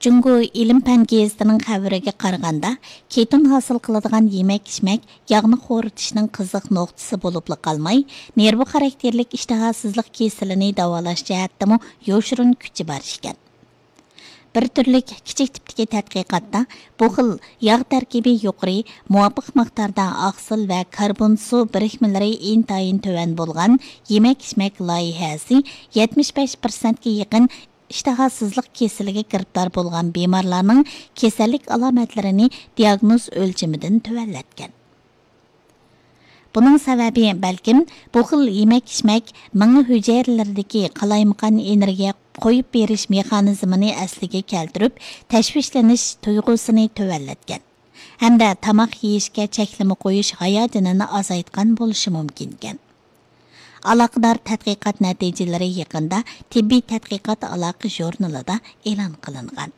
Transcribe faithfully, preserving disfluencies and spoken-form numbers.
جۇڭگو ئىلىم پەن گېزىتىنىڭ خەۋىرىگە قارىغاندا، كېتون ھاسىل قىلىدىغان يېمەك ئىچمەك ياغنى خورىتىشنىڭ قىزىق نۇقتىسى بولۇپلا قالماي، نېرۋا خاراكتېرلىك ئىشتىھاسىزلىق كېسىلىنى داۋالاش جەھەتتىمۇ يوشۇرۇن كۈچى بار ئىكەن. بىر تۈرلۈك كىچىك تىپتىكى تەتقىقاتتا بۇ خىل ياغ تەركىبى يۇقىرى، مۇۋاپىق مىقداردا ئاقسىل ۋە كاربونسۇ بىرىكمىلىرى ئىنتايىن تۆۋەن بولغان يېمەك ئىچمەك لايىھەسى يەتمىش بەش پىرسەنتكە يېقىن ئىشتىھاسىزلىق كېسىلىگە گىرىپتار بولغان بىمارلارنىڭ كېسەللىك ئالامەتلىرىنى دىياگنوز ئۆلچىمىدىن تۆۋەنلەتكەن. بۇنىڭ سەۋەبى، بەلكىم، بۇ خىل يېمەك ئىچمەك مېڭە ھۈجەيرىلىرىدىكى قالايمىقان ئېنېرگىيە قويۇپ بېرىش مېخانىزمىنى ئەسلىگە كەلتۈرۈپ، تەشۋىشلىنىش تۇيغۇسىنى تۆۋەنلەتكەن ھەمدە تاماق يېيىشكە چەكلىمە قويۇش ھاياجىنىنى ئازايتقان بولۇشى مۇمكىنكەن. ئالاقىدار تەتقىقات نەتىجىلىرى يېقىندا تېببىي تەتقىقات ئالاقە ژۇرنىلىدا ئېلان قىلىنغان.